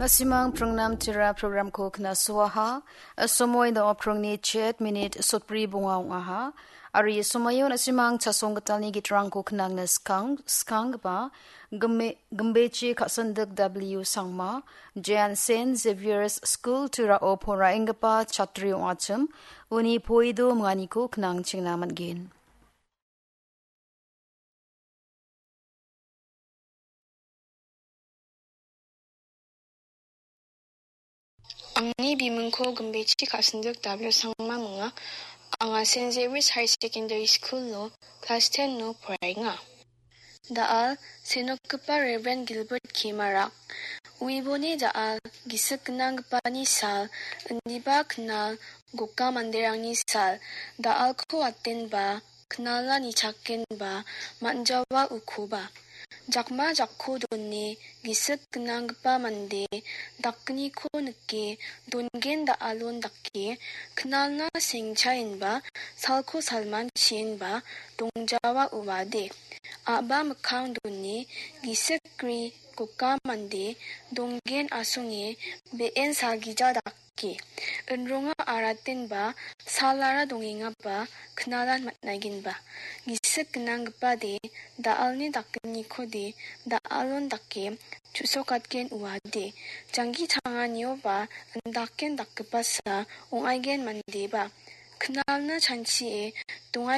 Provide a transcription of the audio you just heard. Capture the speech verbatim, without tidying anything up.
Na·simang pringnam tira programko knasoaha. Somoi da·o pringni chet minit sotbri bonga ong·aha. Ari somoio na·simang chasong gitalni gitrangko knangna skang-, skanggipa Gimbe-, Gimbechi Ka·sindik W Sangma, Jan Saint Xavier's School Turao poraenggipa chatri ong·achim, uni poido minganiko knangchengna man·gen. Angni bimingko Gimbechi Ka·sindik W Sangma minga. Anga Saint Xavier's Higher Secondary School-o class ten-o poraenga. Da·al, senokgipa Reverend Gilbert K Marak. Uiboni da·al, gisik gnanggipani sal, indiba knal, goka manderangni sal, da·alko atenba, knala nichakenba, man·jawa ukoba. Jakma jakko done, gisik gnanggipa mande, dakgniko nike, dongen da·alon dake, knalna sengchaenba, salko salman chienba, dongjawa uade. A·ba mikkang done, gisik gri, goka mande, dongen asonge, be·en salgija dake. Inronga aratenba salara dongengaba knalan man·aigenba. Gisik gnanggipade da·alni dakgnikode da·alon dake chu·sokatgen uade. Janggi tanganioba indaken dakgipasa ong·aigen mandeba. Knalna chanchie dongai